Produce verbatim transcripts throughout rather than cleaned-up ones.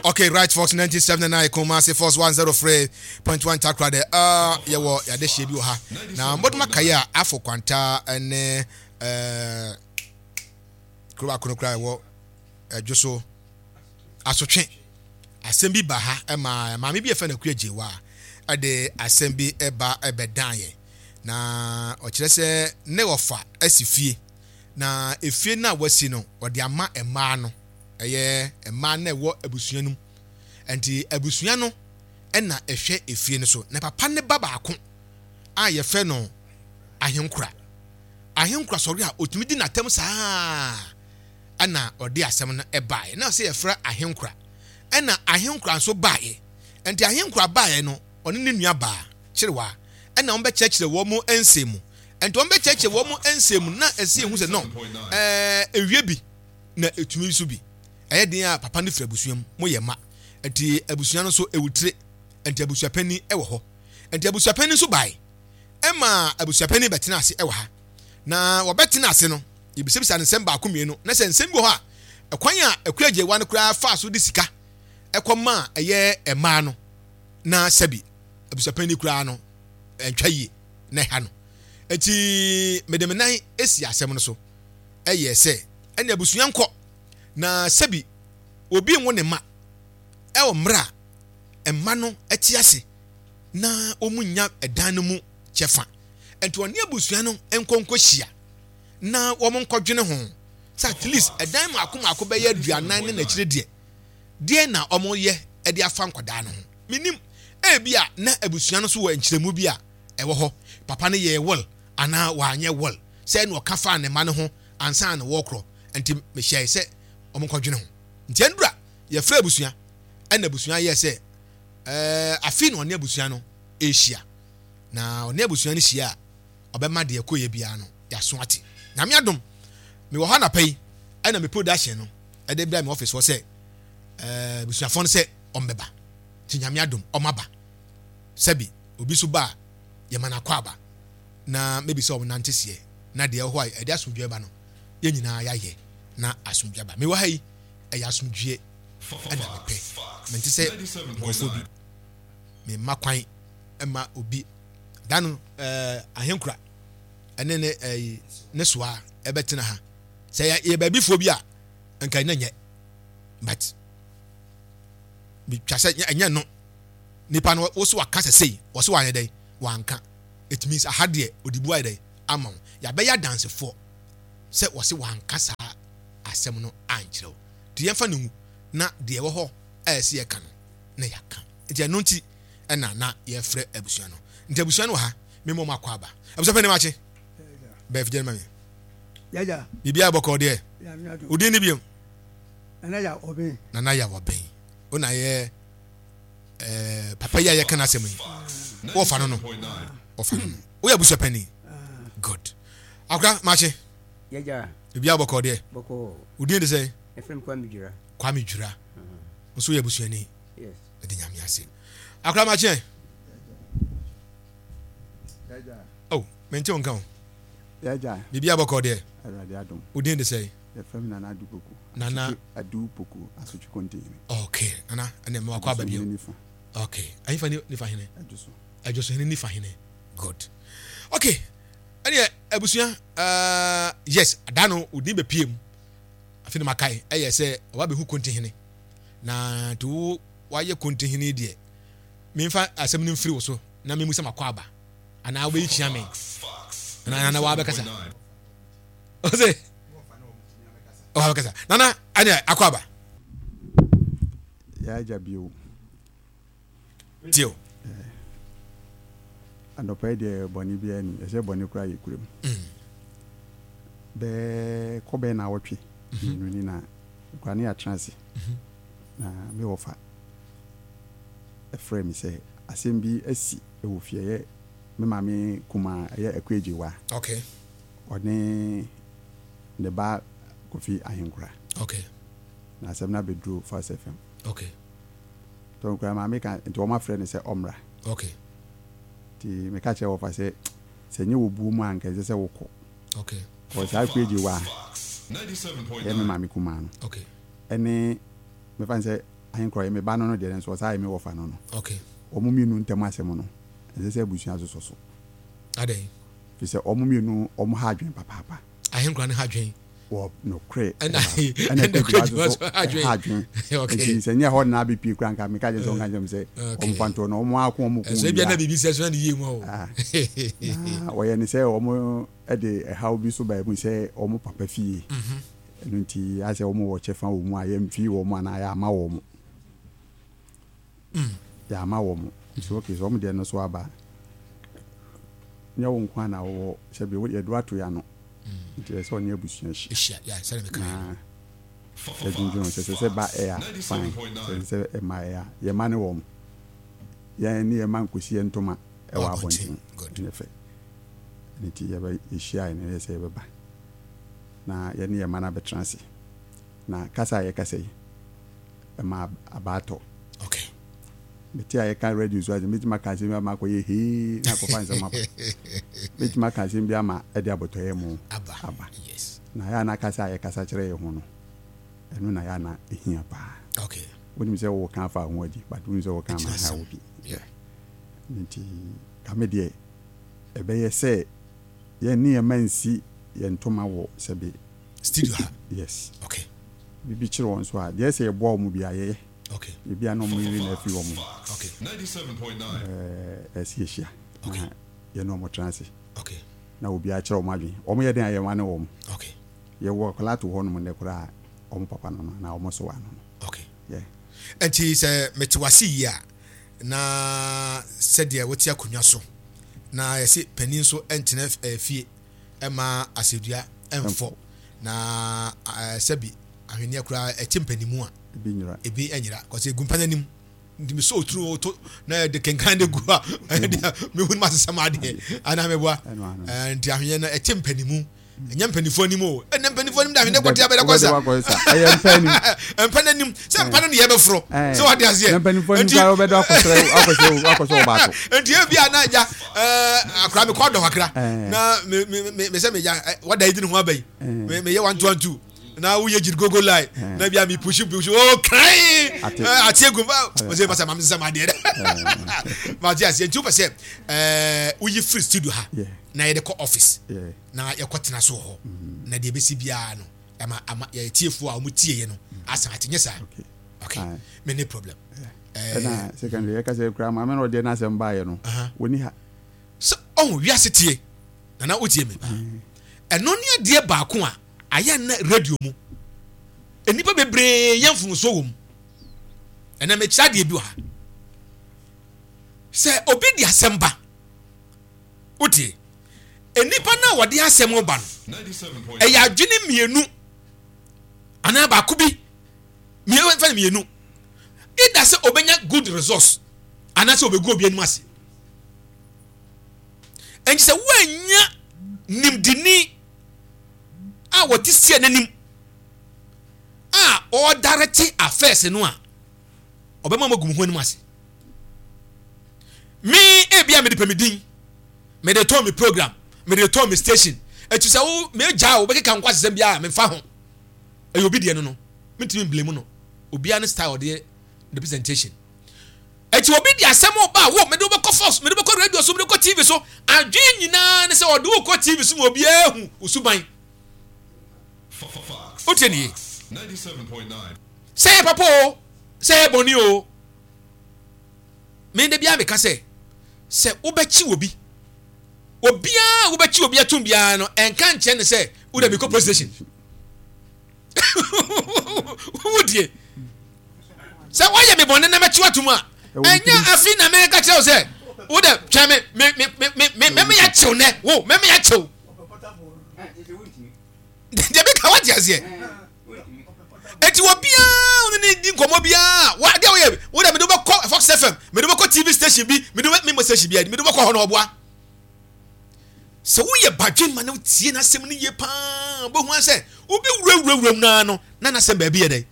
Okay, right, Fox ninety-seven point nine Kumasi, Force one oh three point one Takoradi. Uh, yɛwɔ yɛade hyɛ bi wɔ ha. Na mbɔdoma kae a afɔ kwanta ne uh, kuro baako no koraa ɛwɔ ɛdwo so asotwe asɛm bi ba ha, ɛma maame bi yɛfɛ no Akua Gyewa a ɛde asɛm bi ɛba ɛbɛdan yɛ, na ɔkyerɛ sɛ ne wɔfa asi fie, na efie no a wasi no, ɔde ama mmaa no, ɛyɛ mmaa no a ɛwɔ abusua no mu. Nti abusua no ɛna ɛhwɛ efie no so, na papa ne ba baako a yɛfrɛ no Ahenkora, Ahenkora sɔre a otumi di n'atam saa, ɛna ɔde asɛm no ɛbaeɛ na sɛ yɛfrɛ Ahenkora, ɛna Ahenkora nso baeɛ. Nti Ahenkora baeɛ no, ɔne ne nua baa Kyerewa, ɛna wɔn bɛkyerɛkyerɛ wɔn mu nsɛm mu. Nti wɔn bɛkyerɛkyerɛ wɔn mu nsɛm mu na ɛsi ehu sɛ no ɛɛ ewie bi na etumi nso bi ɛyɛ den a papa no firi abusua mu, mo yɛ ma. Nti abusua no nso ewu tire, nti abusuapanin ɛwɔ hɔ. Nti abusuapanin nso bae, ɛma abusuapanin bɛtena ase ɛwɔ ha. Na wɔbɛtena ase no, yɛbisabisa ne nsɛm baako mmienu, na sɛ nsɛm bi wɔ hɔ a, ɛkwan a Akua Gyewa no koraa fa so de sika ɛkɔ ma ɛyɛ mmaa no, na sɛbi abusuapanin koraa no ɛntwa yie na ɛha no. Nti mede me nan esi asɛm no so, ɛyɛ sɛ ɛne abusua nkɔ, na sɛbi obi nwo ne ma ɛwɔ mmerɛ a mma no ɛte ase na wɔn nya ɛdan no mu kyɛfa. Nti ɔne abusua no nkɔ nkɔ hyia na wɔn nkɔdwene ho sɛ at least ɛdan mako mako bɛyɛ aduanan ne n'akyire deɛ deɛ na wɔn yɛ ɛde afa nkwadaa no ho. Minim ebi a na abusua no so wɔ nkyerɛmu bi a ɛwɔ hɔ, papa no yɛ will anaa wanyɛ will sɛ ɛna ɔka fa ne ma no ho ansa na wɔkorɔ. Nti mehyɛ sɛ wɔn nkɔdwene ho. Nti ɛndura yɛfrɛ abusua, ɛna abusua yɛ sɛ ɛɛ afi na ɔne abusua no ɛrehyia, na ɔne abusua no hyia a, ɔbɛma deɛ ɛkɔ yɛ biara no yɛaso ate. Nyame adom, mewɔ hɔ anapa yi, ɛna me production no ɛde brɛ me office hɔ sɛ ɛɛ abusuafoɔ no sɛ ɔmbɛba. Nti Nyame adom, ɔmaba. Sɛbi obi so ba a, yɛma no akɔ aba na maybe sɛ ɔmo nante seɛ na deɛ ɛwɔ hɔ a ɛde asomdwoe ba no, yɛn nyinaa yɛayɛ na asomdwoe aba. Mewɔ ha yi, ɛyɛ asomdwoe ɛna mepɛ. Mente sɛ nkurɔfoɔ bi memma kwan ɛma obi da no ɛɛ Ahenkura ɛne ne ɛyi ne soa ɛbɛtena ha sɛ yɛ yɛ baabifoɔ bi a nka ɛnyɛ nyɛ, but bitwa sɛ ɛnyɛ no nipa no woso waka sɛ sei wɔso wanyɛ dɛ wanka. It means aha deɛ odi bu ayɛ dɛ ama wo, yɛabɛyɛ adansefoɔ sɛ wɔse wanka saa asɛm no ankyerɛ wo. Nti yɛmfa no ngu na deɛ ɛwɔ hɔ a ɛsɛ yɛka no na yɛaka. Nti ɛno nti ɛna na yɛfrɛ abusua no. Nti abusua no wɔ ha, memmɔ mu akɔ aba. Abusua pɛ ne makye bɛɛ figya no ma me. Yagya. Biribiara bɔkɔɔ deɛ? Nyame adom. Wodin ne biom? Nana ya ɔbɛn. Nana yɛ wɔbɛn wo na yɛ ɛɛ papa yi a yɛka n'asɛm yi, wɔfa no no wɔfa no no woyɛ abusua panin. Good. Akora, makye. Yagya. Biribiara bɔkɔɔ deɛ? Bɔkɔɔ. Wodin de sɛ? Ɛfrɛ me Kwame Dwira. Kwame Dwira nso yɛ abusuani? Yes. Ɛde Nyame ase. Akora, makye. Yagya. Oh, mente wo nka o. Yagya. Biribiara bɔkɔɔ deɛ? Awurade adom. Wodin de sɛ? Yɛfrɛ me Nana Adu Poku. Nana- Adu Poku, Asotwe Kontihene. Okay, Nana, ɛnɛ mewakɔ aba bio. Hene nifa. Okay, ayifa ne nifa hene? Adwo so. Adwosohene nifa hene. Good. Okay, ɛneɛ abusua, uh, yes, ada no odin bɛpie mu afei na makae ɛyɛ sɛ ɔba bɛhu kontihene, na nti wo wayɛ kontihene deɛ, memfa asɛm no mfiri wo so na memu sɛ makɔ aba anaa wobɛyi kyia me anaa nana waabɛkasa ɔsɛ ɔwaabɛkasa. Nana, ɛneɛ akɔ aba. Yagya bio. Tio. Anɔpa yi deɛ, bɔne biara ni ɛsɛ bɔne koraa yɛ kurom. Bɛɛ kɔ bɛɛ na awɔtwe mmienu ni na kora ne yɛatena ase, na me wɔfa ɛfrɛ me sɛ asɛm bi asi wɔ fie, ɛyɛ me maame kumaa, ɛyɛ Akuagyewa, okay ɔne ne ba Kofi Ahenkora, okay na asɛm no abɛduru Fast F M. Okay tɔn kora maame ka nti wɔn afrɛ no sɛ ɔmmra. Okay nti meka kyerɛ wɔfa sɛ sɛ nyɛ wɔ buo mu a, nka ɛsɛ sɛ wokɔ. Okay kɔ saa Akuagyewa, ɛyɛ me maame kumaa no, okay ɛne mefa no sɛ Ahenkura yɛ me ba no no deɛ, nso ɔsaa yɛ me wɔfa no no. Okay. Wɔn mmienu ntam asɛm no, ɛsɛ sɛ abusua sosɔ so. Adɛn? Fi sɛ wɔn mmienu wɔn ha adwene papaapa. Ahenkura no ha adwene. Wɔ nokorɛ. Ɛna ɛna ɛna ɛkura so ha adwene. Okay. Nti sɛ nyɛ hɔ na abɛpie kura nka meka kyerɛ sɛ ɔnka kyerɛ m sɛ Okay. wɔn fa ntoɔ no, wɔn ako wɔn ko. Ɛso ebi na biribi sɛ so na ne yie mu o. Ah. Na wɔyɛ ne sɛ wɔn de ɛhaw bi so baa mu sɛ wɔn papa fie. Ɛno nti asɛ wɔn wɔ kyɛfa wɔ mu a yɛmfi wɔn anaa yɛama wɔn. Yɛama wɔn. Nti okay, sɛ wɔn deɛ no so aba, nyɛ wo nko a na wɔwɔ sɛbi yɛde ato yɛ ano. Nti ɛsɛ sɛ ɔne abusua hyia. Ehyia ya sɛde meka yɛ. Na yɛdwendwene ho sɛ sɛ sɛ ba ɛyɛ a, fine, sɛ sɛ ɛma ɛyɛ a, yɛma ne wɔn. Yɛn ne yɛma nkosi yɛn ntoma ɛwɔ abɔnten. Good. Ɛnyɛ fɛ. Nti yɛbɛ yɛhyia yɛ no yɛ sɛ yɛbɛba na yɛne yɛma no abɛtena ase na kasa a yɛkasa yi ɛma abaatɔ. Okay. Mete a yɛka radio so ase, mɛtumi aka asɛm bi ama akɔyɛ hee na akɔfa nsɛm aba, mɛtumi aka asɛm bi ama ɛde abɔtɔyɛ mu Aba. Aba. Yes. Na yɛ a na kasa a yɛkasa kyerɛ yɛ ho no, ɛno na yɛ a na ɛhia paa. Okay. Wonim sɛ wɔka afa ho adi, but wonim sɛ wɔka ama ha wo bi. Yeah. Nti kame deɛ ɛbɛyɛ sɛ yɛn ne yɛma nsi yɛn ntoma wɔ sɛbe Studio ha. Yes. Okay. Biribi kyerɛ wɔn so a deɛ sɛ yɛboa wɔn bi a yɛyɛ. Okay. Biribi a na wɔn yiri na afi wɔn. Okay. ɛɛ ɛsi ehyia. Okay. Na yɛne wɔn tena ase. Okay. Na obiara kyerɛ wɔn adwene, wɔn yɛ den a yɛn ne wɔn. Okay. Yɛwɔ akwadaa to hɔ nom nnɛ koraa, wɔn papa no no na wɔn so wa no no. Okay. Yeah. Nti sɛ mete wase yie a, na sɛdeɛ wote akonnwa so na yɛse panin nso ntena eh, fie ɛma asɛdua ɛmfɔ na eh, sɛbi ahwenneɛ koraa ɛte mpanimu a ebi nyira. Ebi nyira kɔsɛ egu mpa n'anim, nti mi so oturu oto na yɛde kenkan de gu a, ɛdeɛ mehu no ma sesɛm adeɛ anaa meboa. Ɛno ano. Eh, nti ahwenneɛ no ɛte mpanimu, ɛnyɛ mpanimfoɔ anim o, ɛnɛ mpanimfoɔ anim de ahwenneɛ kɔte abɛda kɔsa. Wobɛde wakɔ sa ɛyɛ mpa anim. Mpa n'anim sɛ mpa no ne yɛbɛforɔ Ɛɛ. sɛ wade aseɛ. Na mpanimfoɔ anim Nti- koraa wobɛde akɔsrɛ akɔsɛ akɔsɛ ɔbaako. Nti ebi a na agya ɛɛ akora mi kɔ dɔ kakra Ɛɛ. na me me me me sɛ me gya ɛ wada yi di ne ho aba yi, Ɛɛ. me me yɛ one two one two na woyɛ gyiri gogo line Ɛɛ. na bi a mi push push o kran. Ate. Ɛɛ ate egu ba o sɛ masa maame sisan ma adeɛ dɛ ma ate aseɛ. Nti o pɛ sɛ ɛɛ woyi firi studio ha Yeah. na yɛde kɔ office Yeah. na yɛkɔ tena so wɔ hɔ na deɛ ebesi biara no ɛma ama yɛ tiefoɔ a wɔn tie yɛ no asan ate nyɛ saa. Okay. Okay. Aye. Me ne problem. Ɛɛ Ɛna secondary yɛka sɛ koraa maame na ɔdeɛ n'asɛm baayɛ no, Aha. wɔni ha. Sɛ ɔho wiase tie nana wotie me paa, ɛno ne adeɛ baako a ayɛ na radio mu nnipa bebree yɛ mfomsoɔ wɔ mu. Ɛnna mekyerɛ adeɛ bi wɔ ha sɛ obi de asɛm ba, wotie nnipa no a wɔde asɛm ba no, ɛyɛ adwene mmienu anaa baako bi mmienu fɛn mmienu, ida sɛ obɛnya good results anaasɛ obɛgu obi anim ase. Ɛnti sɛ woanya nimdini a wɔte sie n'anim a ɔredirect affairs no a, ɔbɛma mo agu mo ho anim ase. Me ebia mede pɛ me din, mede tɔn me program, mede tɔn me station, eti sɛ wo megya a wobɛkeka nkɔ asesɛm biara memfa ho, ɛyɛ obi deɛ no no mentumi mblame no, obiara ne style ɔde the presentation. Eti obi de asɛm ba a, wo mede wobɛkɔ force, mede wobɛkɔ radio so, mede wobɛkɔ T V so, adwene nyinaa ne sɛ ɔde wokɔ T V so ma obiara hu wo suban. Wotie ne yie, sɛ yɛ papa o, sɛ yɛ bɔne o, me de biara meka sɛ sɛ wobɛkyi obi, obiara wobɛkyi obi atum biara no, ɛnka nkyɛn ne sɛ wode mekɔ police station. Wodie sɛ woayɛ me bɔne na mɛkyi watom a, ɛnyɛ afi na meka kyerɛ wo sɛ wode twɛn me me me me me mɛmɛ yɛ kyew nɛ wo mɛmɛ yɛ kyew deɛ meka, wate aseɛ? Eti obiara wo ne ne di nkɔmɔ biara wa adeɛ woyɛ wo dɛ mede wobɛkɔ Fox F M, mede wobɛkɔ T V station bi, mede wobɛ memo station bi, mede wobɛkɔ hɔ na ɔboa sɛ woyɛ badwe ma na wotie n'asɛm no yie paa, wobɛhu sɛ wobi wurawurawura mu naa no na n'asɛm baabi yɛ dɛ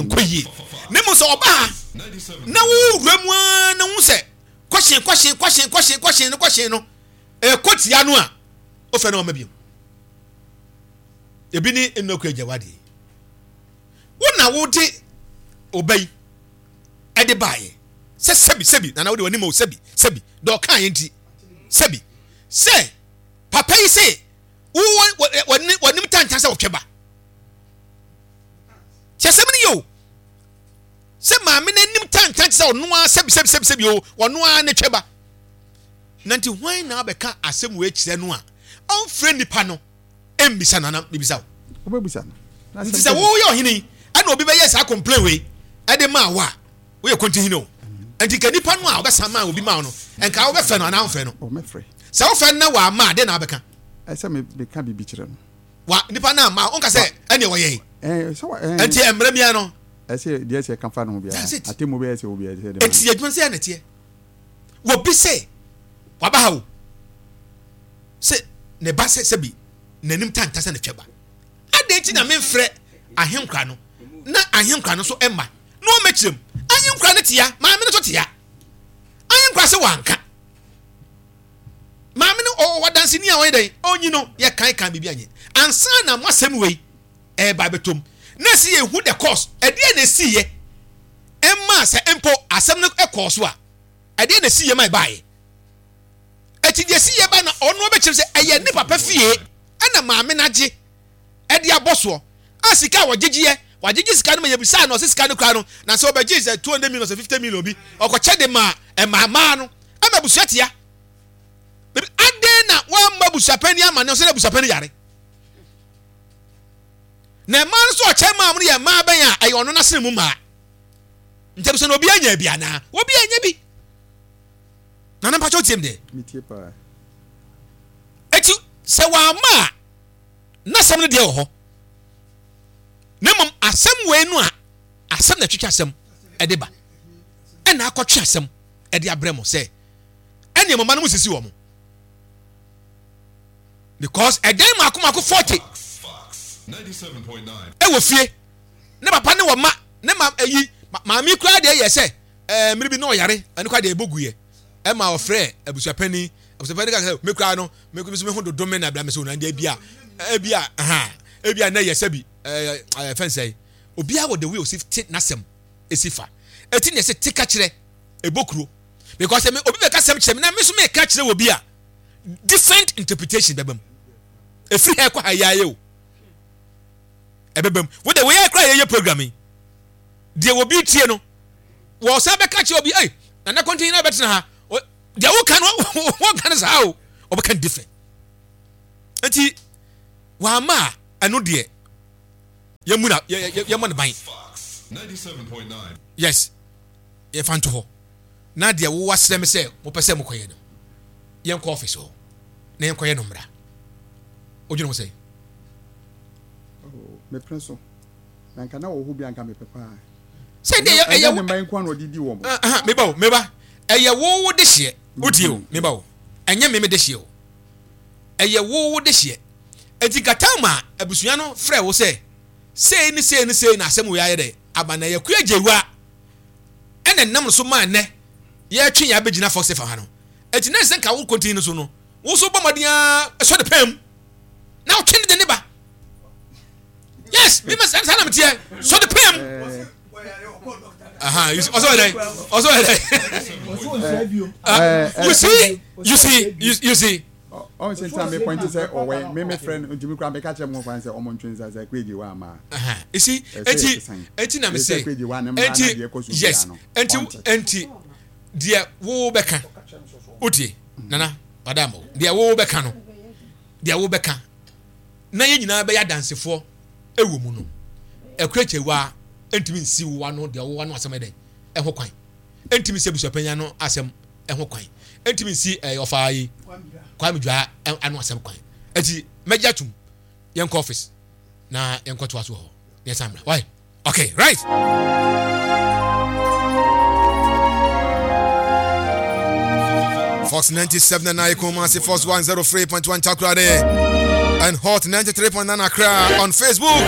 nkɔ yie. Ne mu sɛ ɔba ha na wowura mu ara na wo sɛ kɔhyen kɔhyen kɔhyen kɔhyen kɔhyen no kɔhyen no ɛkɔ tia no a, wofɛ no ɔma bio. Ebi ne nnɔkura agya wadeɛ wo na wode ɔba yi. Ɛde baeɛ sɛ sɛbi sɛbi nana wode w'anim o, sɛbi sɛbi deɛ ɔka yɛ nti sɛbi sɛ papa yi sɛ wowɔ w'anim tantan sɛ wɔtwɛ ba. Kyɛ sɛm no yɛ o, sɛ maame no anim tantan te sɛ ɔno ara sɛbi sɛbi sɛbi sɛbi o, ɔno ara ne twɛ ba. Na nti hwan na abɛka asɛm wei kyerɛ no a ɔmfrɛ nipa no mmisa no anaa mebisa wo? Wobɛbisa no. Nti sɛ woyɛ ɔhene yi ɛna obi bɛyɛ saa complain wei ɛde maa wo a, woyɛ kontihene o. Nti nka nipa no a ɔbɛsa maa obi maa wo no, nka wobɛfrɛ no anaa womfrɛ no? Sɛ wofrɛ no na wamma a, deɛ na wabɛka? Ɛsɛ meka biribi kyerɛ no. Wa nipa no amma wonka sɛ ɛneɛ wɔyɛe. Nti mmerɛ biara no ɛsɛ deɛ ɛsɛ ka fa no ho biara. That's it. Atemmuo biara ɛsɛ wɔ biara ɛsɛ de ma. Nti adwuma sɛ ɛna teɛ. Wɔbi sɛ waba ha o, sɛ ne ba sɛ sɛbi n'anim tanta sɛ ne twɛ ba. Adɛn nti na memfrɛ ahenkora no na ahenkora no nso mma na ɔmmɛkyerɛ mu? Ahenkora no tea, maame no nso tea. Ahenkora sɛ wanka. Maame no ɔwɔ danseni a ɔyɛ dɛn? Ɔnyi no yɛ kan kan biribi anyɛ. Ansa na mo asɛm wei ɛreba abɛtɔ mu. Na ɛsɛ yɛhu the cause. Ɛdeɛn na ɛsiiɛ ɛmaa sɛ mpo asɛm no kɔɔ so a, ɛdeɛn na ɛsiiɛ ma ɛbaeɛ? Ɛti deɛ ɛsiiɛ ba na ɔno ɔbɛkyerɛ sɛ ɛyɛ ne papa fie ɛna maame no agye ɛde abɔ soɔ a sika a wɔgyegyeɛ, wagyegye sika no ma yɛbisaa no, ɔsɛ sika no koraa no na sɛ ɔbɛgye sɛ two hundred million sɛ fifty million bi ɔkɔkyɛ de ma ɛmaamaa no ɛma abusua tia. Adɛn na wamma abusuapɛn ama ne ɔsɛ na abusuapɛn yare? Na mmaa no nso ɔkyɛ maa mo no yɛ mmaa bɛn a ɛyɛ ɔno n'asene mu mmaa. Nti abusua no obi anya bi anaa? Obi anya bi. Nana mpakyɛ wotie m deɛ? Metie paa. Eti sɛ wamma a, n'asɛm no deɛ wɔ hɔ. Na mmom asɛm wei no a, asɛm na ɛtwetwe asɛm ɛde ba. Ɛna akɔtwe asɛm ɛde abrɛ mo sɛ ɛne mo mma no mo sisi wɔn. Because ɛdan mako mako forty ɛwɔ fie ne papa ne wɔ ma ne ma ɛyi maame koraa deɛ yɛ sɛ ɛɛ mmiri bi na ɔyare ɛno koraa deɛ ɛbɔ gu yɛ ɛma ɔfrɛ abusuapɛni abusuapɛni ka sɛ me koraa no me nso me ho dodo me na abira me so na deɛ ebi a ebi a ɛhan ebi a na yɛ sɛ bi ɛɛ ɛɛ fɛn sɛ obiara wɔ the way osi te n'asɛm esi fa eti na ɛsɛ te ka kyerɛ ɛbɔ kuro because ɛmi obi bɛ ka sɛm kyerɛ mi na mi nso mi ka kyerɛ wɔ bi a different interpretation bɛbɛ mu efiri ha ɛkɔ ha yɛ ayɛ o ɛbɛbɛ mu wo de wɔyɛ kora yɛyɛ program yi deɛ obi tie no wɔsan bɛka kyerɛ obi ɛy nana kɔntin na bɛtena ha deɛ woka no wɔka no saa o ɔbɛka no different nti wama a ɛno deɛ yɛmu na yɛmmɔ ne ban yes yɛfa nto hɔ na deɛ wowɔ asrɛ me sɛ mopɛ sɛ mokɔyɛ no yɛnkɔ office hɔ na yɛnkɔyɛ no mmra. Wodwene ho sɛn? Oh, mepene so. Na nka na wɔ hɔ bi anka mepɛ paa. Sɛ deɛ ɛyɛ ɛyɛ ne mma nko na ɔde di wɔn. Aha, meba o, meba. Ɛyɛ wo wo de hyeɛ. Wotie o, meba o. Ɛnyɛ me me de hyeɛ o. Ɛyɛ wo wo de hyeɛ. Enti nka time a abusua no frɛ wo sɛ sei ne sei ne sei na asɛm wei ayɛ dɛ aba na yɛkua gyewa ɛna ɛnam no so maa nnɛ yɛtwe yɛn abɛgyina Fox F M ha no. Enti na ɛsɛ nka wo kɔntini no so no, wo nso bɔ mmɔden ara sɔ ne pɛn mu na wotwe ne de ne ba. Yes, me ma saa na meteɛ, sɔ ne pɛn mu. Aha, you see, ɔsɔ yɛ dɛ, ɔsɔ yɛ dɛ. You see, you see, you, you see. Ɔn sɛ ntina me point sɛ ɔwɛ me me frɛ no ntumi kura meka kyerɛ mo kwan sɛ ɔmo ntwe nsa sɛ kweji wa ama. You see, eti eti na me se, eti yes, enti enti deɛ wo bɛka wotie nana ɔda mo deɛ wo bɛka no deɛ wo bɛka na yɛn nyinaa bɛyɛ adansefoɔ ɛwɔ mu no ɛkura kyɛwa ntumi nsi wo ano deɛ wo ano asɛm ɛdɛn ɛho kwan ntumi nsi abusuapanyin ano asɛm ɛho kwan ntumi nsi ɛyɛ ɔfaa yi Kwame Dwa ano asɛm kwan eti mɛgye atum yɛn kɔ office na yɛn kɔ to aso wɔ hɔ yɛn san mra why. Okay, right. Fox ninety-seven and nine Kumasi, Fox one oh three point one Takoradi, and Hot ninety-three point nine Accra. On Facebook,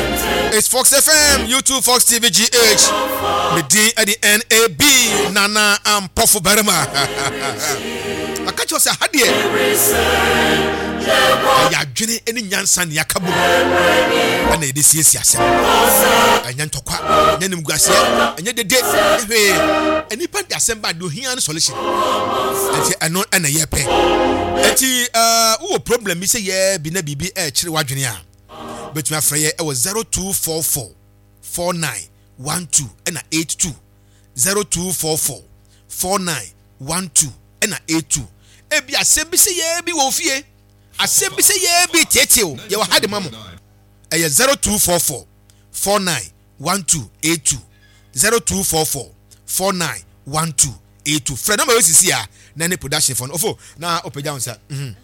it's Fox F M, YouTube, Fox T V G H, Medin at the N A B, Nana Ampofo Berima. I catch you say, Hadie. Ɛyɛ adwene ne nyansa ne yɛaka bom ɛna yɛde siesie asɛm. Ɛnyɛ ntɔkwa, ɛnyɛ nimguaseɛ, ɛnyɛ dede, ɛnyɛ hwee. Nnipa de asɛm ba, deɛ ohia ne solution. Nti ɛno ɛna yɛpɛ. Nti ɛɛ wowɔ problem bi sɛ yɛ bi na biribi ɛrekyere w'adwene a, bɛtumi afrɛ yɛ ɛwɔ zero two four four four nine one two ɛna eight two, zero two four four four nine one two ɛna eight two. Ebi asɛm bi sɛ yɛ bi wɔ fie, asɛm bi sɛ yɛ bi tietie o, yɛwɔ ha de ma mo. Ɛyɛ zero two four four four nine one two eight two, zero two four four four nine one two eight two. Frɛ nɔmba yɛ sisi a na ne production fɔ no ofo na ɔpɛgya wo nsa. mhm.